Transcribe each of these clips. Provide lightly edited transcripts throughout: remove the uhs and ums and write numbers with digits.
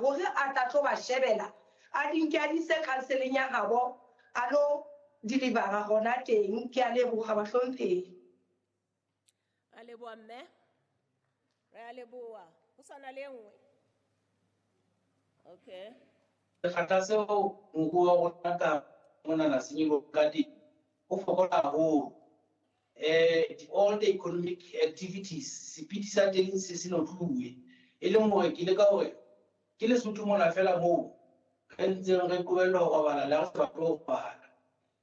hore a tla tlo ba shebela, a di nke a di ise counseling ya habo, a lo delivera hona teng. Ke a leboha bahlomphehi. Re a leboha mme. Re a leboha. Ho sa na le e nngwe? Okay. Sekgahla seo moruo wa rona ka monana se nyoloha ka teng ho fokola haholo. All the economic activities sepiti sa teng se se notluwe, e leng hore ke leka hore ke Lesotho mona feela moo re ntseng re qobellwa ho robala le ha re sa batle ho robala.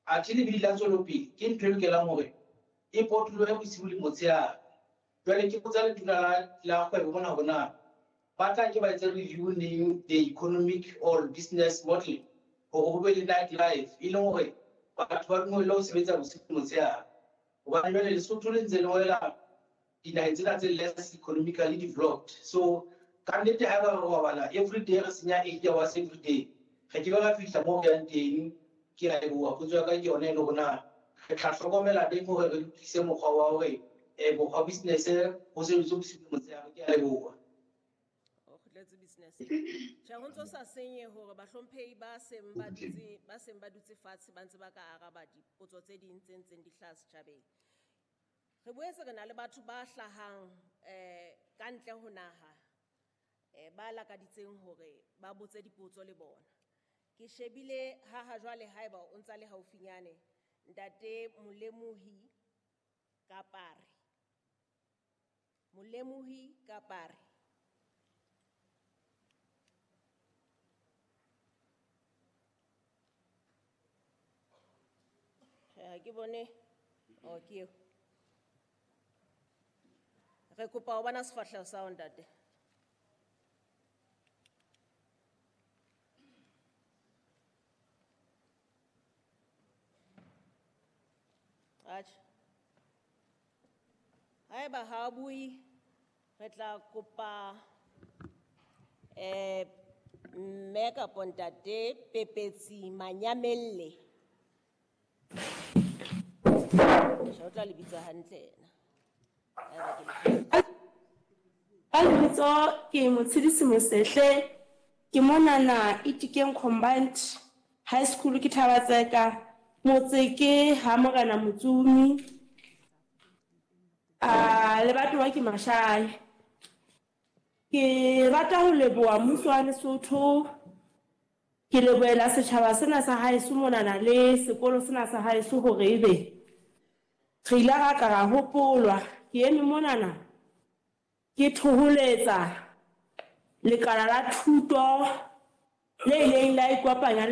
Athe lebidi la tswelopele ke ntho e lokelang hore e potolohe bosiu le motshehare. Jwale ke botsa letona la kgwebo mona hore na ba tla ke ba etse review neng the economic or business model hore ho be le night life, e leng hore batho ba dumelle ho sebetsa bosiu le motshehare. Hobane jwale Lesotho le ntse le wela dinaheng tsena tse less economically developed. So ka nnete haeba re robala every day, re senya 8 hours every day, re ke be ra fihla moo re yang teng. Ke a leboha. Potso ya ka ke yona e le hore na re tla hlokomela teng hore re lokise mokgwa wa hore mokgwa business ho sebetswe bosiu le motshehare. Ke a leboha. O kgutletse business. Tjhe, ho ntso sa senye hore bahlomphehi ba seng ba dutse, ba seng ba dutse fatshe ba ntse ba ka araba dipotso tse ding tse ntseng di hlaha setjhabeng. Re boetse re na le batho ba hlahang ka ntle ho naha, ba lakaditseng hore ba botse dipotso le bona. Ke shebile ha ha jwale haeba o ntsa le haufinyane, Ntate Molemohi Kapare. Molemohi Kapare. Ha ke bone. Oh, ke eo. Re kopa ho bona sefahleho sa hao, ntate. Atjhe. Haeba ha a bue, re tla kopa mme kapo ntate Pepetsi Manyamelle. Tjhe, o tla le bitsa hantle yena. Haeba ke le fositse. Ka lebitso ke Motshedisi Mosehle, ke monana Itikeng Combined High School ke Thabatseka, motse ke ha Morena Motsumi, a lebatowa ke Mashai. Ke rata ho leboha mmuso wa Lesotho, ke lebohela setjhaba sena sa haeso monana le sekolo sena sa haeso hore ebe re ile ra ka ra hopolwa. Ke eme monana ke thoholetsa lekala la thuto le ileng la ikopanya